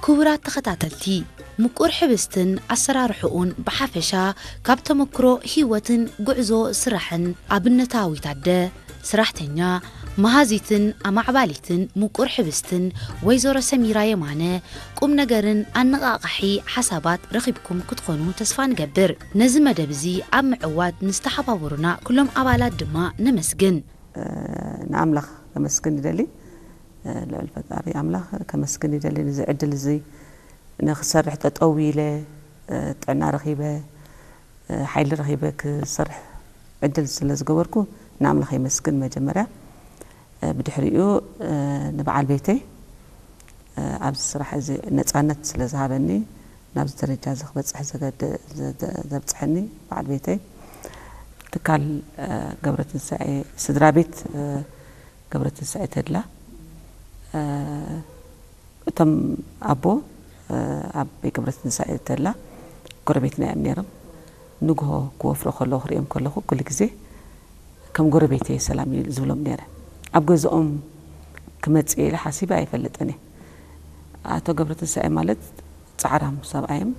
ክቡራት ተኸታተልቲ፣ ምቁር ሕብስትን ኣሰራርሕኡን ብሓፈሻ ካብ ተመክሮ ህይወትን ጉዕዞ ስራሕን ኣብነታዊት ኣደ፣ ስራሕተኛ፣ መሃዚትን ኣማዕባሊትን ምቁር ሕብስትን ወይዘሮ ሰሚራ የማነ ቁም ነገርን ኣነቓቓሒ ሓሳባት ረኺብኩም ክትኾኑ ተስፋ ንገብር። ነዚ መደብ እዚ ኣብ ምዕዋት ንዝተሓባበሩና ኩሎም ኣባላት ድማ ነመስግን። ንኣምላኽ ከመስግን ይደሊ። ልዑል ፈጣሪ ኣምላኽ ከመስግን ይደሊ። ንዚ ዕድል እዚ ንክሰርሕ ጠጠው ኢለ ጥዕና ረኺበ ሓይሊ ረኺበ ክሰርሕ ዕድል ስለ ዝገበርኩ ንኣምላኽ የመስግን። መጀመርያ ብድሕሪኡ ንበዓል ቤተይ ኣብዚ ስራሕ እዚ ነፃነት ስለ ዝሃበኒ ናብዚ ደረጃ እዚ ክበፅሕ ዘብፅሐኒ በዓል ቤተይ ትካል ገብረትንሳኤ ስድራ ቤት ገብረትንሳኤ ተድላ እቶም ኣቦ ኣቦይ ገብረትንሳኤ ተድላ ጎረቤትና እዮም ነይሮም። ንግሆ ክወፍሩ ከለዉ ክሪኦም ከለኹ ኩሉ ግዜ ከም ጎረቤተይ ሰላም ዝብሎም ነይረ። ኣብ ገዝኦም ክመፅእ ኢለ ሓሲበ ኣይፈልጥን እየ። ኣቶ ገብረትንሳኤ ማለት ፃዕራም ሰብኣይ እዮም።